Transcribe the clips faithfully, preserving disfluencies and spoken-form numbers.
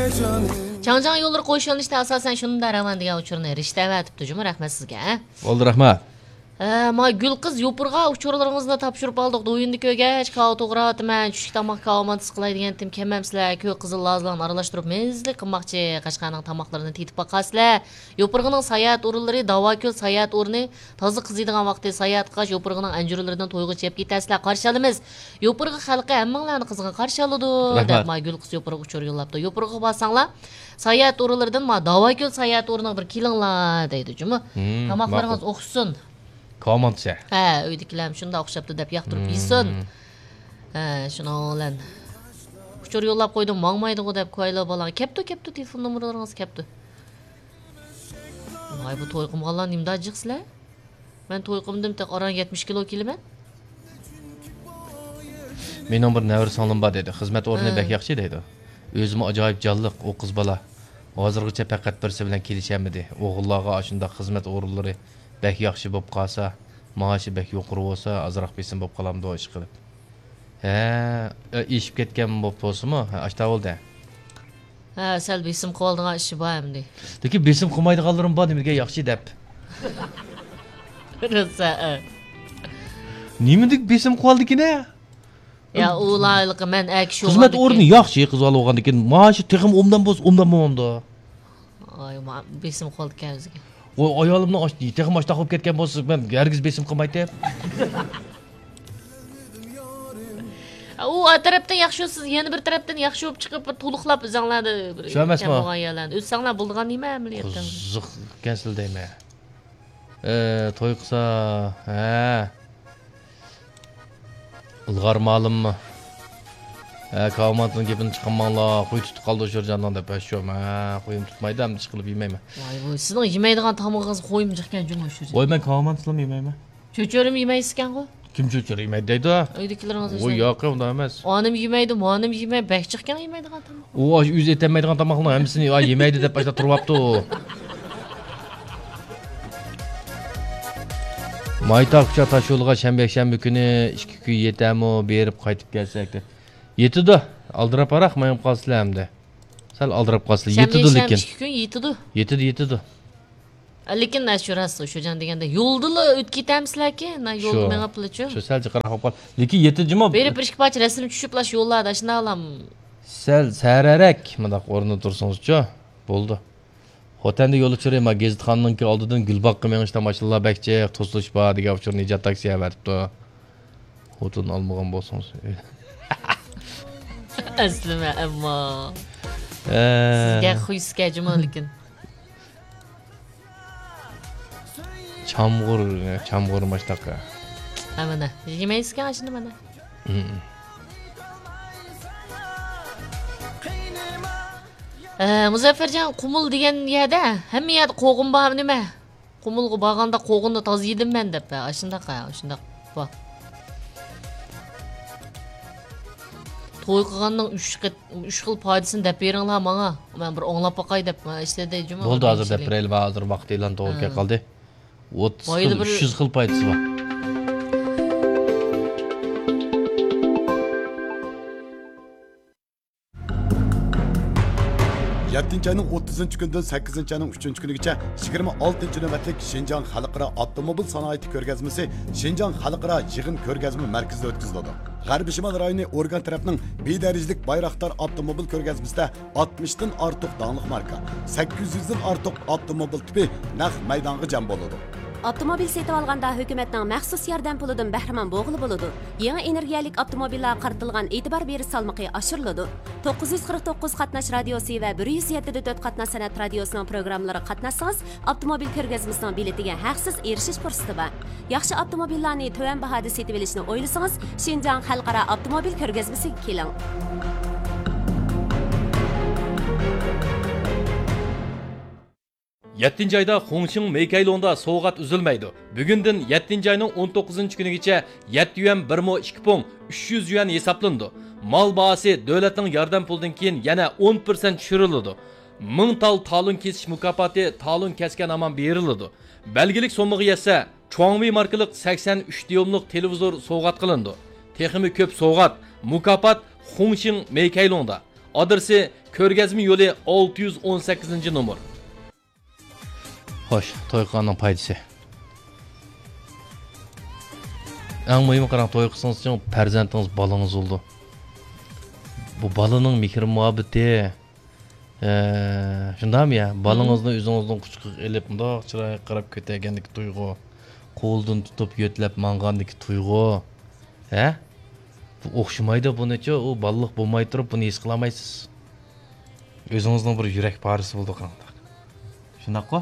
چاڭجياڭ يوللىرى قويۇش يۆنىلىشىدە ئاساسەن شۇندا راۋان دېگەن ئۇچۇرنى رىشتە ئەۋەتىپتۇ جۇمۇ، رەھمەت سىزگە. بولدى، رەھمەت. ھە، ما گۈلقىز يوپۇرغا ئۇچۇرلىرىڭىزنى تاپشۇرۇپ ئالدۇق. دويۇننى كۆرگەچ، كاۋا توغراۋاتىمەن. چۈشلۈك تاماققە كاۋا مانتىسى قىلاي دېگەنتىم، كەممەمسىلەر، كۆك قىزىل لازىلارنى ئارىلاشتۇرۇپ مەززىلىك قىلماقچى. قەشقەرنىڭ تاماقلىرىنى تېتىپ باقارسىلەر. يوپۇرغىنىڭ ساياھەت ئورۇنلىرى، داۋاكۆل ساياھەت ئورنى، تازا قىزىيدىغان ۋاقتى ساياھەت قىلغاچ، يوپۇرغىنىڭ ئەنجۈرلىرىدىن تويغۇچە يەپ كېتەرسىلەر، قارشى ئالىمىز. يوپۇرغا خەلقى ھەممىڭلارنى قىزغىن قارشى ئالىدۇ، رەھمەت. دەپ ما گۈلقىز يوپۇرغا ئۇچۇر يوللاپتۇ. يوپۇرغىغا بارساڭلار، ساياھەت ئورۇنلىرىدىن ما داۋاكۆل ساياھەت ئورنىغا بىر كېلىڭلار دەيدۇ جۇمۇ. ھىم، تاماقلىرىڭىز ماقۇل. ئوخشىسۇن. كاۋا مانتىسى. ھە، ئۆيدىكىلەرمۇ شۇنداق ئوخشاپتۇ دەپ ياقتۇرۇپ ھىم. يېسۇن. ھە، شۇنىڭ بىلەن ئۇچۇر يوللاپ قويدۇم، ماڭمايدىغۇ دەپ، كويلا بالاڭ. كەپتۇ، كەپتۇ، تېلېفون نومۇرلىرىڭىز كەپتۇ. ۋاي، بۇ توي قىلمىغانلار نېمىدا جىق سىلەر؟ مەن توي قىلمىدىم، تېخى ئاران يەتمىش كىلو كېلىمەن. مېنىڭ بىر نەۋرە سىڭلىم بار دەيدۇ. خىزمەت ئورنى ھە. بەك ياخشى دەيدۇ. ئۆزىمۇ ئاجايىپ جانلىق ئۇ قىز بالا. ھازىرغىچە پەقەت بىرسى بىلەن كېلىشەلمىدى. ئوغۇللارغا ئاشۇنداق خىزمەت ئورۇنلىرى بەك ياخشى بولۇپ قالسا، مائاشى بەك يۇقىرى بولسا، ئازراق بېسىم بولۇپ قالامدۇ ئىشقىلىپ. ھە، ئېشىپ كەتكەن بولۇپ تۇرسىمۇ، ھە، ئاشتا بولدى. ھە، سەل بېسىم قىلىۋالىدىغان ئىشى بار ئەمدى. لېكىن بېسىم قىلمايدىغانلىرىم بار، نېمىگە ياخشى دەپ. روسا، ھە. نېمىدىك بېسىم قىلىۋالدىكىنە؟ يا، ئۇلارلىقى مەن ئەكىشى خىزمەت ئورنى ياخشى، قىز بالا بولغاندىكىن مائاشى تېخىمۇ ئوبدان بولسا، ئوبدان بولمامدۇ؟ ئاي، ما-، بېسىم قىلىۋالدىكەن ئۆزىگە. ۋاي، ئايالىمنىڭ ئاش-، تېخىمۇ ئاشتاق بولۇپ كەتكەن بولسا، مەن ھەرگىز بېسىم قىلمايتتىم. ئۇ ئا تەرەپتىن ياخشى، سىز يەنە بىر تەرەپتىن ياخشى بولۇپ چىقىپ، بىر تولۇقلاپ ئۆزەڭلاردا بىر شۇ ئەمەسمۇ؟ كەم بولغان يەرلەرنى ئۆتسەڭلار بولىدىغان نېمە ئەمەلىيەتتە؟ قىزىق ئىكەنسىلەر دەيمەن. ئە، توي قىلسا، ھە. ئىلغار مالىممۇ؟ ھە، كاۋامانتىنىڭ گېپىنى چىقارماڭلار، قوي تۇتۇپ قالدى شۇرجاننىڭ دەپ، ھە، شۇ، ھە، قويۇم تۇتمايدۇ، ئەمدى ئىشقىلىپ يېمەيمەن. ۋاي، ۋاي، سىزنىڭ يېمەيدىغان تامىقىڭىز قويمۇ جىقكەن جۇمۇ شۇرجان. ۋاي، مەن كاۋامانتىسىلىمۇ يېمەيمەن. چۆچۈرىمۇ يېمەيسىكەنغۇ؟ كىم چۆچۈرە يېمەيدۇ دەيدۇ؟ ئۆيدىكىلىرىڭىز ۋوي، ئۆزلەر. ياق، ئۇنداق ئەمەس. ئانىمۇ يېمەيدۇ، مانىمۇ يېمەي، بەك جىقكەن يېمەيدىغان تاماق. ئۇ ئاشۇ ئۆزى ئېتەلمەيدىغان تاماقنىڭ ھەممىسىنى، ئا، يېمەيدۇ دەپ ئاشۇنداق تۇرۇۋاپتۇ. مايتا كۇچا تاشيولىغا شەنبە، يەكشەنبە كۈنى ئىككى كۈن يېتەرمۇ، بېرىپ قايتىپ كەلسەك دەپ. يېتىدۇ. ئالدىراپراق مېڭىپ قالسىلەر ئەمدى. سەل ئالدىراپ قالسىلەر. شەنبە، يېتىدۇ يەكشەنبە لېكىن. ئىككى كۈن يېتىدۇ. يېتىدۇ، يېتىدۇ. لېكىن، ئە، شۇ راست، شۇجان دېگەندە، يولدىلا ئۆتۈپ كېتەمسىلەركى؟ نا، يولدا شۇ. مېڭىپلا شۇ. شۇ سەل جىقراق بولۇپ قال-، لېكىن يېتىدۇ جۇمۇ. بېرىپ بىر ئىككى پارچە رەسىم چۈشۈپ، لا شۇ يوللاردا، شۇنداقلام. سەل سەرەرەك مۇنداق ئورنىدا تۇرسىڭىزچۇ؟ بولدى. خوتەندە يول ئۇچۇرى، ما، گېزىتخانىنىڭكى ئالدىدىن گۈلباغقا مېڭىشتا ماشىنىلار بەك جىق، توسۇلۇش بار، دېگەن ئۇچۇرنى ئىجاد تاكسى ئەۋەتىپتۇ. خوتۇن ئالمىغان بولسىڭىز. ئەسلىمە، ئەمما. ئە. سىزگە خۇيسىكە جۇمۇ لېكىن. چامغۇر، چامغۇر ماشتاقا. ھە، مانا. يېمەيسىكەن ئاشۇنى مانا. ھىم. ئە، مۇزەففەرجان، قۇمۇل دېگەن يەردە، ھەممە يەردە قوغۇن بار نېمە؟ قۇمۇلغا بارغاندا قوغۇننى تازا يېدىم مەن دەپ، ھە، ئاشۇنداق، ھە، ئاشۇنداق. ۋاھ. توي قىلغاننىڭ ئۈچ قېت-، ئۈچ خىل پايدىسىنى دەپ بېرىڭلار ماڭا. مەن بىر ئاڭلاپ باقاي دەپ، مەن ئىشلىدى جۇمۇ. بولدى، ھازىر دەپ بېرەيلى، ھازىر ۋاقىت ئېلان توغرا كەپ قالدى. ئوتتۇز خىل، ئۈچ يۈز خىل پايدىسى بار. يەتتىنچى ئاينىڭ ئوتتۇزىنچى كۈنىدىن سەككىزىنچى ئاينىڭ ئۈچىنچى كۈنىگىچە يىگىرمە ئالتىنچى نۆۋەتلىك شىنجاڭ خەلقئارا ئاپتوموبىل سانائىتى كۆرگەزمىسى شىنجاڭ خەلقئارا يىغىن كۆرگەزمە مەركىزىدە ئۆتكۈزۈلىدۇ. غەربىي شىمال رايونى ئورگان تەرەپنىڭ بىدەرىجىلىك بايراقدار ئاپتوموبىل كۆرگەزمىسىدە ئاتمىشتىن ئارتۇق داڭلىق ماركا، سەككىز يۈزدىن ئارتۇق ئاپتوموبىل تىپى نەق مەيدانغا جەم بولىدۇ. ئاپتوموبىل سېتىۋالغاندا ھۆكۈمەتنىڭ مەخسۇس ياردەم پۇلىدىن بەھرىمەن بولغىلى بولىدۇ. يېڭى ئېنېرگىيەلىك ئاپتوموبىللارغا قارىتىلغان ئېتىبار بېرىش سالمىقى ئاشۇرۇلىدۇ. توققۇز يۈز قىرىق توققۇز قاتناش رادىيوسى ۋە بىر يۈز يەتتە دە تۆت قاتناش سەنئەت رادىيوسىنىڭ پروگراممىلىرىغا قاتناشسىڭىز، ئاپتوموبىل كۆرگەزمىسىنىڭ بېلىتىگە ھەقسىز ئېرىشىش پۇرسىتى بار. ياخشى ئاپتوموبىللارنى تۆۋەن باھادا سېتىۋېلىشنى ئويلىسىڭىز، شىنجاڭ خەلقئارا ئاپتوموبىل كۆرگەزمىسىگە كېلىڭ. يەتتىنچى ئايدا خۇڭشىڭ مېيكەيلۇڭدا سوۋغات ئۈزۈلمەيدۇ. بۈگۈندىن يەتتىنچى ئاينىڭ ئون توققۇزىنچى كۈنىگىچە يەتتە يۈەن بىر مو ئىككى پۇڭ ئۈچ يۈز يۈەن ھېسابلىنىدۇ. مال باھاسى دۆلەتنىڭ ياردەم پۇلىدىن كېيىن يەنە ئون پىرسەنت چۈشۈرۈلىدۇ. مىڭ تال تالون كېسىش مۇكاپاتى تالون كەسكەن ھامان بېرىلىدۇ. بەلگىلىك سوممىغا يەتسە، چۇاڭۋېي ماركىلىق سەكسەن ئۈچ دىيۇملۇق تېلېۋىزور سوۋغات قىلىنىدۇ. تېخىمۇ كۆپ سوۋغات، مۇكاپات خۇڭشىڭ مېيكەيلۇڭدا. ئادرېسى: كۆرگەزمە يولى، ئالتە يۈز ئون سەككىزىنچى نومۇر. خوش، توي قىلغاننىڭ پايدىسى. ئەڭ مۇھىمى قاراڭ، توي قىلسىڭىزچۇ، پەرزەنتىڭىز، بالىڭىز بولىدۇ. بۇ بالىنىڭ مېھرى مۇھەببىتى، ئە، شۇنداقمۇ يا؟ بالىڭىزنى ئۆزىڭىزنىڭ قۇچىقىغا ئېلىپ، مۇنداق چىرايىغا قاراپ كۆتەرگەندىكى تۇيغۇ، قولىدىن تۇتۇپ يۆتلەپ ماڭغاندىكى تۇيغۇ، ھە؟ بۇ ئوخشىمايدۇ بۇنىچۇ، ئۇ بالىلىق بولماي تۇرۇپ بۇنى ھېس قىلالمايسىز. ئۆزىڭىزنىڭ بىر يۈرەك پارىسى بولىدۇ قانداق. شۇنداققۇ؟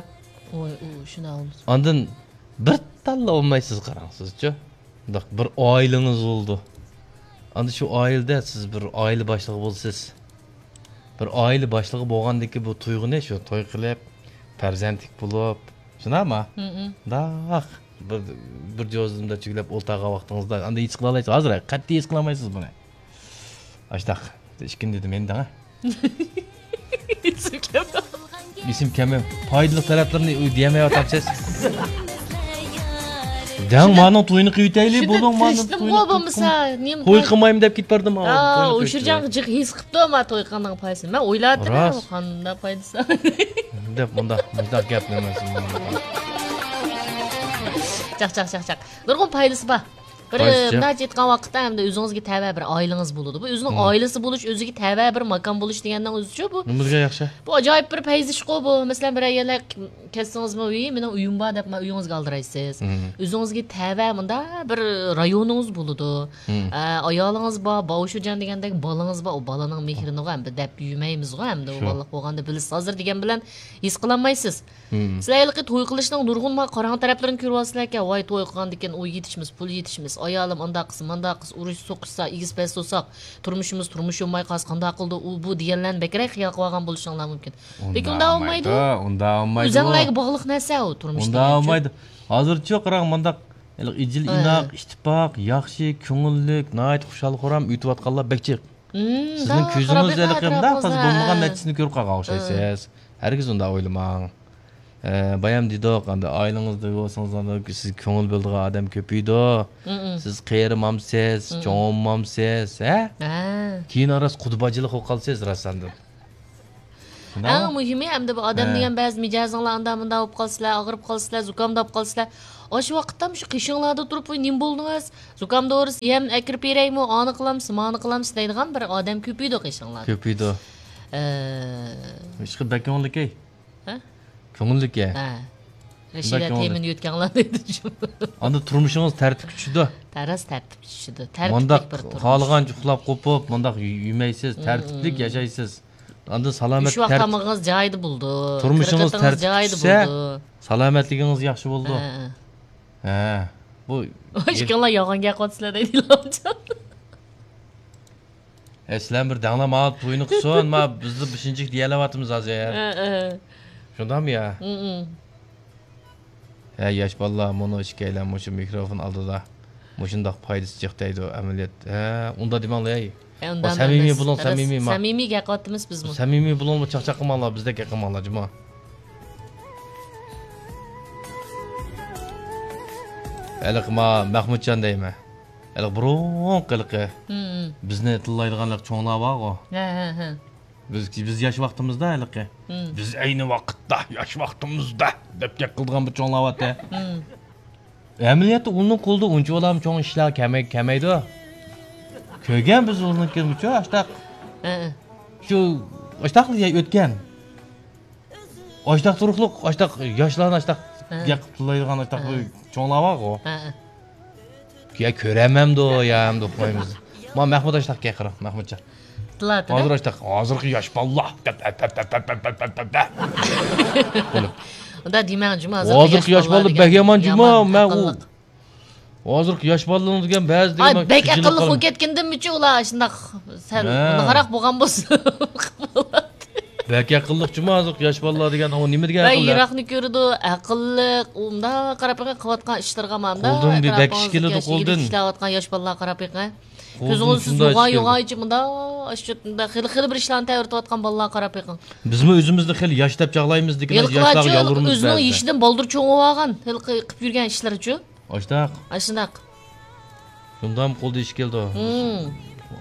ۋاي، ئۇ شۇنداق بولمىسا. ئاندىن بىر تاللا بولمايسىز، قاراڭ سىزچۇ. مۇنداق بىر ئائىلىڭىز بولىدۇ. ئاندىن شۇ ئائىلىدە سىز بىر ئائىلە باشلىقى بولىسىز. بىر ئائىلە باشلىقى بولغاندىكى بۇ تۇيغۇنى شۇ توي قىلىپ، پەرزەنتلىك بولۇپ، شۇنداقمۇ؟ مۇنداق بىر، بىر جوزىندا چۈگلەپ ئولتۇرغان ۋاقتىڭىزدا ئاندىن ھېس قىلالايسىز. ھازىر قەتئىي ھېس قىلالمايسىز بۇنى. ئاشتاق. ئىككىنچى دېدىم ئەمدى ھە. ئېسىم كەلمەي. پايدىلىق تەرەپلىرىنى دېيەلمەيۋاتامسىز. دەڭ، مانىڭ تويىنى قىلىۋېتەيلى، بولۇڭ، مانىڭ تويىنى قىلىپ بولمىسا، نېمە توي قىلمايمەن دەپ كېتىپ بەردىم. ئۇشۇرجان جىق ھېس قىپتۇ، ما توي قىلغاننىڭ پايدىسى. مەن ئويلاۋاتىمەن، قانداق پايدىسى. دەپ مۇنداق، مۇنداق گەپلىمەسۇن. چاق، چاق، چاق، چاق. نۇرغۇن پايدىسى بار. بىر، مۇنداق ئېيتقان ۋاقىتتا، ئەمدى ئۆزىڭىزگە تەۋە بىر ئائىلىڭىز بولىدۇ. بۇ ئۆزىنىڭ ئائىلىسى بولۇش، ئۆزىگە تەۋە بىر ماكان بولۇش دېگەننىڭ ئۆزىچۇ بۇ. نېمە دېگەن ياخشى؟ بۇ ئاجايىپ بىر پەيزىشقۇ بۇ. مەسىلەن، بىرەر يەرلەر كەتسىڭىزمۇ، ۋىي، مېنىڭ ئۆيۈم بار دەپ، مانا ئۆيىڭىزگە ئالدىرايسىز. ئۆزىڭىزگە تەۋە مۇنداق بىر رايونىڭىز بولىدۇ. ئە، ئايالىڭىز بار، باۋشۇجان دېگەندەك بالىڭىز بار. ئۇ بالىنىڭ مېھرىنىغۇ ئەمدى دەپ يۈرمەيمىزغۇ ئەمدى. ئۇ بالىلىق بولغاندا بىلىسىز. ھازىر دېگەن بىلەن ھېس قىلالمايسىز. سىلەر ھېلىقى توي قىلىشنىڭ نۇرغۇن ما قاراڭ تەرەپلىرىنى كۆرۈۋالىسىلەركەن. ۋاي، توي قىلغاندىكىن ئۇ يېتىشمىس، پۇل يېتىشمىس، ئايالىم ئانداق قىلسا، مانداق قىلسا، ئۇرۇش سوقۇشسا، ئېگىز پەس سوقساق، تۇرمۇشىمىز تۇرمۇش بولماي قالسا قانداق قىلىدۇ، ئۇ بۇ دېگەنلەرنى بەكرەك خىيال قىلىۋالغان بولۇشۇڭلار مۇمكىن. لېكىن ئۇنداق بولمايدۇ. ئۇنداق بولمايدۇ. ئۆزەڭلارگە باغلىق نەرسە ئۇ تۇرمۇش دېگەنچۇ. ئۇنداق بولمايدۇ. ھازىرچۇ قاراڭ، مانداق ھېلىقى ئىجىل ئىناق، ئىتتىپاق، ياخشى، كۆڭۈللۈك، ناھايىتى خۇشال-خۇرام ئۆتۈۋاتقانلار بەك جىق. سىزنىڭ كۆزىڭىز ھېلىقى مۇنداق تازا بولمىغان نەتىجىسىنى كۆرۈپ قالغان ئوخشايسىز. ھەرگىز ئۇنداق ئويلىماڭ. ئە، بايام دېدۇق، ئەمدى ئائىلىڭىزدە بولسىڭىز، ئەمدى سىزگە كۆڭۈل بۆلىدىغان ئادەم كۆپىيىدۇ. سىز قېرىمامسىز، چوڭمامسىز، ھە؟ كېيىن راست قۇدا باجىلىق بولۇپ قالىسىز راست ئاندىن. ئەڭ مۇھىمى، ئەمدى بۇ ئادەم دېگەن بەزى مىجەزىڭلار ئاندا مۇندا بولۇپ قالسىلەر، ئاغرىپ قالسىلەر، زۇكامداپ قالسىلەر. ئاشۇ ۋاقىتتا شۇ قېشىڭلاردا تۇرۇپ، ۋاي، نېمە بولدىڭىز؟ زۇكام دورىسى يەم ئەكىرىپ بېرەيمۇ؟ ئانى قىلامسىز، مانى قىلامسىز دەيدىغان بىر ئادەم كۆپىيىدۇ قېشىڭلاردا. كۆپىيىدۇ. ئە، ئىشقىلىپ بەك كۆڭۈللۈكەي. ھە؟ كۆڭۈللۈكەي. ھە. رەشىدە تېمىنى يۆتكەڭلار دەيدۇ. ئاندىن تۇرمۇشىڭىز تەرتىپكە چۈشىدۇ. تەرەس تەرتىپكە چۈشىدۇ. تەرتىپلىك بىر تۇرمۇش. مۇنداق خالىغانچە ئۇخلاپ قوپۇپ، مۇنداق يېمەيسىز، تەرتىپلىك ياشايسىز. ئاندىن سالامەت، ئۈچ ۋاق تامىقىڭىز جايىدا بولىدۇ. تۇرمۇشىڭىز تەرتىپكە چۈشسە، سالامەتلىكىڭىز ياخشى بولىدۇ. ھە. ھە. بۇ ئىككىڭلار يالغان گەپ قىلىۋاتىسىلەر دەيدۇ ئىلھامجان. ھە، سىلەر بىر دەڭلار، ما توينى قىلسۇن، ما بىزدە بېشىنچىلىك دېيەلەۋاتىمىز ھازىر. ھە، ھە. شۇنداقمۇ يا؟ ھە، ياش بالىلار، مۇنۇ ئىككىيلەن مۇشۇ مىكروفون ئالدىدا مۇشۇنداق پايدىسى جىق دەيدۇ، ئەمەلىيەت. ھە، ئۇنداق دېمەڭلار، ھەي. ھە، ئۇنداق ئەمەس. سەمىمىي بولۇڭ، سەمىمىي، ما. سەمىمىي گەپ قىلىۋاتىمىز بىزمۇ. سەمىمىي بولۇڭ، چاقچاق قىلماڭلار، بىزدەك گەپ قىلماڭلار، جۇمۇ. ھېلىقى ما مەخمۇتجان دەيمەن. ھېلىقى بۇرۇنقى ھېلىقى بىزنى تىللايدىغان ھېلىقى چوڭلار بارغۇ. ھە، ھە، ھە. بىز، بىز ياش ۋاقتىمىزدا ھېلىقى. بىز ئەينى ۋاقىتتا ياش ۋاقتىمىزدا دەپ گەپ قىلىدىغان بىر چوڭلار بارتى. ئەمەلىيەتتە ئۇنىڭ قولىدا ئۇنچىۋالا چوڭ ئىشلار كەلمەي-، كەلمەيدۇ. كۆرگەن بىز ئۇنىڭكىنىچۇ ئاشتاق. ھە، ھە. شۇ ئاشتاقلا ئۆتكەن. ئاشتاق تۇرۇقلۇق، ئاشتاق ياشلارنى ئاشتاق گەپ قىلىپ تىللايدىغان ئاشتاق بىر چوڭلار بارغۇ. ھە، ھە. يا كۆرەمەمدۇ، يا ئەمدى ئوقۇمايمىز. ما مەخمۇت ئاشتاق گەپ قىلىڭ، مەخمۇتجان. ھازىر ئاشتاق، ھازىرقى ياش بالىلار. بولۇپ. ئۇنداق دېمەڭ جۇما، ھازىرقى ياش بالىلار بەك يامان جۇما، مەن ئۇ ھازىرقى ياش بالىلارنىڭ دېگەن بەزى دېگەن بەك ئەقىللىق بولۇپ كەتكىندىمىچۇ ئۇلار شۇنداق سەل ناھاراق بولغان بولسا. بەك ئەقىللىق جۇما ھازىرقى ياش بالىلار دېگەن، ئۇ نېمە دېگەن ئەقىللىق؟ يىراقنى كۆرىدۇ، ئەقىللىق، ئۇنداق قاراپ بېقىڭ، قىلىۋاتقان ئىشلىرىغا مانا. قولدىن بەك ئىش كېلىدۇ، قولدىن. ئىشلەۋاتقان ياش بالىلارغا قاراپ بېقىڭ. كۆزىڭىز سىز يوغان يوغان ئىچى مۇنداق، مۇنداق خېلى، خېلى بىر ئىشلارنى تەۋرىتىۋاتقان بالىلارغا قاراپ بېقىڭ. بىزمۇ ئۆزىمىزنى خېلى ياش دەپ چاغلايمىز، لېكىن ياشلارغا يالۋۇرىمىز بەزىدە. ئۆزىنىڭ يېشىدىن بالدۇر چوڭ بولۇۋالغان، ھېلىقى قىلىپ يۈرگەن ئىشلىرىچۇ. ئاشتاق. ئاشۇنداق. شۇنداقمۇ قولدا ئىش كېلىدۇ.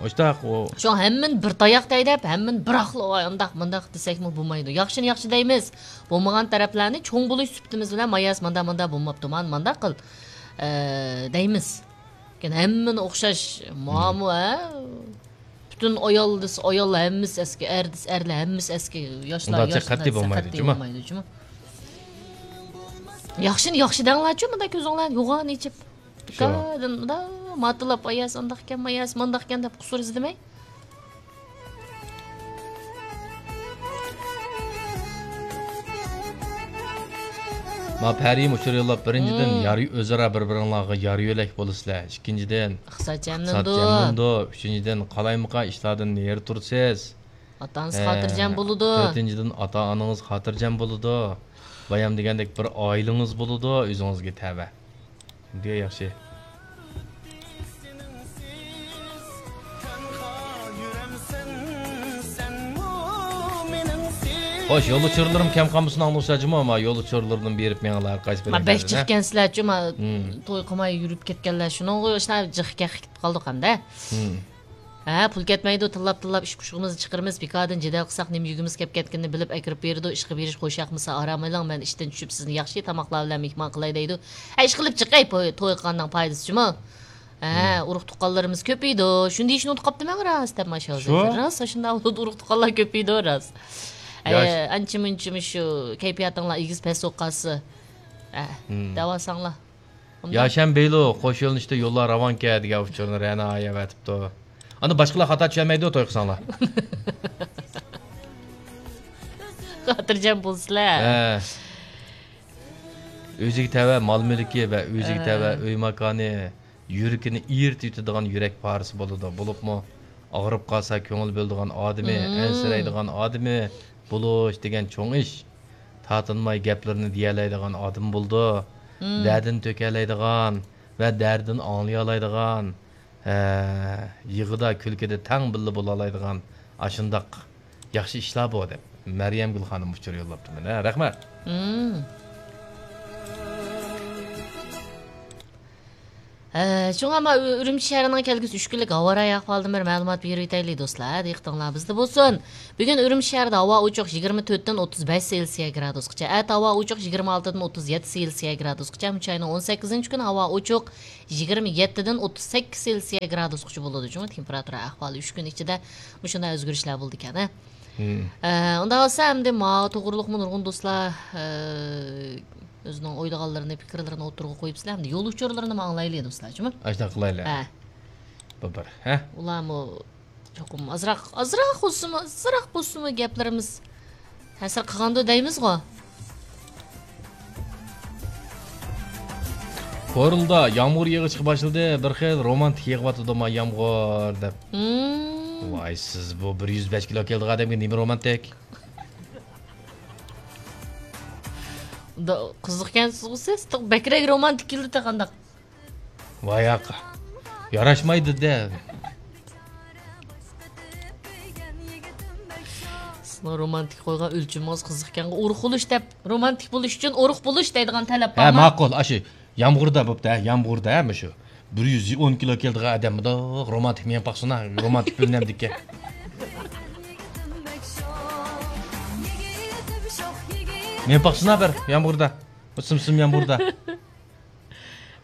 ئاشتاق ئۇ. شۇڭا ھەممىنى بىر تاياق دەي دەپ، ھەممىنى بىراقلا ئانداق مۇنداق دېسەكمۇ بولمايدۇ. ياخشىنى ياخشى دەيمىز. بولمىغان تەرەپلەرنى چوڭ بولۇش سۈپىتىمىز بىلەن ماياس ماندا ماندا بولماپتۇ، مانا مانداق قىل، ئە، دەيمىز. لېكىن ھەممىنى ئوخشاش ماما، ھە؟ پۈتۈن ئايال دېسە ئايال ھەممىسى ئەسكى، ئەر دېسە ئەرلەر ھەممىسى ئەسكى، ياشلار ياشلار قەتئىي دېسە بولمايدۇ، قەتئىي جۇمۇ؟ بولمايدۇ، جۇمۇ؟ ياخشىنى ياخشى دەڭلارچۇ، مۇنداق كۆزۈڭلارنى يوغان ئېچىپ. شۇ. دىكادىن مۇنداق ماتىلاپ، ئاياس ئانداقكەن، ماياس مانداقكەن دەپ قۇسۇر ئىزدىمەي. ما پەرىم ئۇچۇر يوللاپ، بىرىنچىدىن، مم. يار، ئۆزئارا بىر-بىرىڭلارغا يار-يۆلەك بولىسىلەر. ئىككىنچىدىن، ئىقتىساد ئىقتىساد جانلىنىدۇ. جانلىنىدۇ. ئۈچىنچىدىن، قالايمىقان ئىشلاردىن نېرى تۇرىسىز. ئاتا-ئانىسى ھە، خاتىرجەم بولىدۇ. تۆتىنچىدىن، ئاتا-ئانىڭىز خاتىرجەم بولىدۇ. بايام دېگەندەك بىر ئائىلىڭىز بولىدۇ، ئۆزىڭىزگە تەۋە. دېگەن ياخشى. خوش، يول ئۇچۇرلىرىم كەم قالمىسۇن، ئاڭلىغۇچىلار جۇمۇ، ما يول ئۇچۇرلىرىدىن بېرىپ مېڭىڭلار، قايسى ما بەك بىرىڭلاردا، ھە؟ جىقكەنسىلەر جۇمۇ، مم. توي قىلماي يۈرۈپ كەتكەنلەر، شۇنىڭغا شۇنداق جىق كەتتۇق قالدۇق ئەمدى. مم. ھە، پۇل كەتمەيدۇ، تىللاپ-تىللاپ ئىش-پۇشۇمىزنى چىقىرىمىز، بىكاردىن جېدەل قىلساق، نېمە يېگۈمىز كەپ كەتكىنىنى بىلىپ ئەكىرىپ بېرىدۇ، ئىشقا بېرىش خوش ياقمىسا، ئارام ئېلىڭ، مەن ئىشتىن چۈشۈپ، سىزنى ياخشى تاماقلار بىلەن مېھمان قىلاي دەيدۇ. ھە، ئىشقىلىپ چىقاي، پوي-، توي قىلغاننىڭ پايدىسى جۇمۇ. ھە، مم. ئۇرۇق-تۇغقانلىرىمىز كۆپىيىدۇ، شۇنى دېيىشنى ئۇنتۇپ قاپتىمەن، راست دەپ مانا شۇ ھازىر. شۇ؟ راست، شۇنداق بولىدۇ، ئۇرۇق-تۇغقانلار كۆپىيىدۇ، راست. ياش. ئە، ئانچە-مۇنچە مۇشۇ كەيپىياتىڭلار ئېگىز-پەس بولۇپ قالسا، ئە، مم. دەۋالساڭلار. ئۇنداق. ياشەن بېيلۇ، قوش يۆنىلىشتە يوللار راۋانكەن دېگەن ئۇچۇرنى رەنا ئايا ئەۋەتىپتۇ. ئاندىن باشقىلار خاتا چۈشەنمەيدۇ، توي قىلساڭلار. خاتىرجەم بولسىلەر. ھە. ئۆزىگە تەۋە مال-مۈلكى ۋە ئۆزىگە ھە. تەۋە ئۆي-ماكانى، يۈرىكىنى ئېرىتىۋېتىدىغان يۈرەك پارىسى بولىدۇ. بولۇپمۇ ئاغرىپ قالسا كۆڭۈل بۆلىدىغان ئادىمى، مم. ئەنسىرەيدىغان ئادىمى بولۇش دېگەن چوڭ ئىش. تارتىنماي گەپلىرىنى دېيەلەيدىغان ئادىمى بولىدۇ. مم. دەردىنى تۆكەلەيدىغان ۋە دەردىنى ئاڭلىيالايدىغان، ھە، يىغىدا، كۈلكىدە تەڭ بىللە بولالايدىغان ئاشۇنداق ياخشى ئىشلار بۇ، دەپ مەريەمگۈل خانىم ئۇچۇر يوللاپتۇ مانا. رەھمەت. مم. ھە، شۇڭا ما ئۈ-، ئۈرۈمچى شەھىرىنىڭ كەلگۈسى ئۈچ كۈنلۈك ھاۋا رايى ئەھۋالىدىن بىر مەلۇمات بېرىۋېتەيلى، دوستلار. دىققىتىڭلار بىزدە بولسۇن. بۈگۈن ئۈرۈمچى شەھىرىدە ھاۋا ئوچۇق، يىگىرمە تۆتتىن ئوتتۇز بەش سېلسىيە گرادۇسقىچە. ئەتە ھاۋا ئوچۇق، يىگىرمە ئالتىدىن ئوتتۇز يەتتە سېلسىيە گرادۇسقىچە. ئەمدى ئاينىڭ ئون سەككىزىنچى كۈنى ھاۋا ئوچۇق، يىگىرمە يەتتىدىن ئوتتۇز سەككىز سېلسىيە گرادۇسقىچە بولىدۇ. شۇڭا تېمپېراتۇرا ئەھۋالى ئۈچ كۈن ئىچىدە مۇشۇنداق ئۆزگىرىشلەر بولىدىكەن، ھە؟ مم. ئە، ئۇنداق بولسا ئەمدى ماۋۇ توغرۇلۇقمۇ نۇرغۇن دوستلار، ئە، ئۆزىنىڭ ئويلىغانلىرىنى، پىكىرلىرىنى ئوتتۇرىغا قويۇپسىلەر. ئەمدى يول ئۇچۇرلىرىنىمۇ ئاڭلايلى دوستلار، جۇمۇ؟ ئاشۇنداق قىلايلى. ھە. بۇ بىر، ھە؟ ئۇلارمۇ چوقۇم ئازراق، ئازراق بولسىمۇ، ئازراق بولسىمۇ گەپلىرىمىز تەسىر قىلغاندۇ دەيمىزغۇ. كورلىدا يامغۇر يېغىشقا باشلىدى، بىر خىل رومانتىك يېغىۋاتىدۇ ما يامغۇر دەپ. مم. ۋاي، سىز بۇ بىر يۈز بەش كىلو كېلىدىغان ئادەمگە نېمە رومانتىك؟ دا-، قىزىقكەنسىزغۇ سىز؟ بەكرەك رومانتىك كېلىدۇ قانداق؟ ۋاياق. ياراشمايدۇ-دە. سىزنىڭ رومانتىك قويغان ئۆلچىمىڭىز قىزىقكەنغۇ. ئۇرۇق بولۇش دەپ، رومانتىك بولۇش ئۈچۈن ئۇرۇق بولۇش دەيدىغان تەلەپ ھە، بارمۇ؟ ماقۇل. ئاشۇ يامغۇردا بوپتۇ، ھە، يامغۇردا، ھە، مۇشۇ. بىر يۈز ئون كىلو كېلىدىغان ئادەم مۇنداق رومانتىك مېڭىپ باقسۇن، ھە، رومانتىك بىلىنەمدىكەن. مېڭىپ باقسۇن، ھە، بىر يامغۇردا. بۇ سىم-سىم يامغۇردا.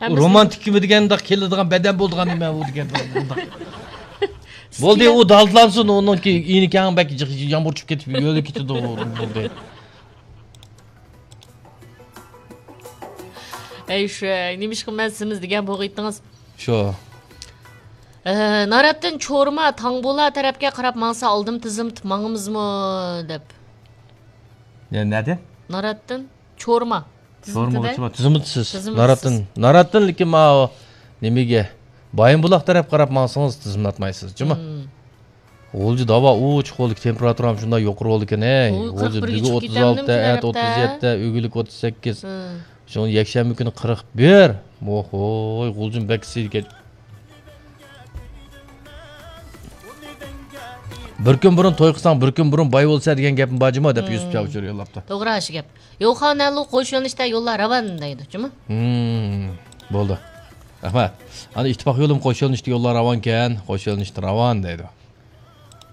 ھەممىسى رومانتىك كۈمە دېگەن مۇنداق كېلىدىغان بەدەن بولىدىغان نېمە ئۇ دېگەن مۇنداق. بولدى، ئۇ دالدىلانسۇن، ئۇنىڭكى ئىنى كەڭ بەك جىق-، يامغۇر چۈشۈپ كېتىپ يۆلە كېتىدۇ، بولدى. ئەي شۇ، نېمىشقا مەن سېمىز دېگەن بولغىيتتىڭىز؟ شۇ. ئە، ناراتتىن چورما، تاڭبۇلا تەرەپكە قاراپ ماڭسا ئالدىم تىزىم ماڭىمىزمۇ دەپ. يا، نەدە؟ ناراتتىن چورما. تىزىملىتىدە. تىزىملىتىسىز. تىزىملىتىسىز. ناراتتىن، ناراتتىن لېكىن ماۋۇ نېمىگە؟ بايىنبۇلاق تەرەپ قاراپ ماڭسىڭىز تىزىملاتمايسىز، جۇمۇ؟ مم. غۇلجا داۋا ئوچۇق بولدى، تېمپېراتۇرام شۇنداق يۇقىرى بولدىكەن، ھەي. غۇلجا بۈگۈن ئوتتۇز ئالتە، ئەتە ئوتتۇز يەتتە، ئۆگۈنلۈك ئوتتۇز سەككىز. شۇڭا يەكشەنبە كۈنى قىرىق بىر. ۋوھوي، غۇلجىمۇ بەك ئىسسىيدىكەن. بىر كۈن بۇرۇن توي قىلساڭ، بىر كۈن بۇرۇن باي بولىسەن دېگەن گەپمۇ بار جۇمۇ، دەپ يۈسۈپ چاۋشۇر يوللاپتۇ. توغرا، شۇ گەپ. يوخانەنلۇ قوش يۆنىلىشتە يوللار راۋان دەيدۇ، جۇمۇ؟ ھىم، بولدى. رەھمەت. ئانا ئىتتىپاق يولىمۇ قوش يۆنىلىشتە يوللار راۋانكەن، قوش يۆنىلىشتە راۋان دەيدۇ.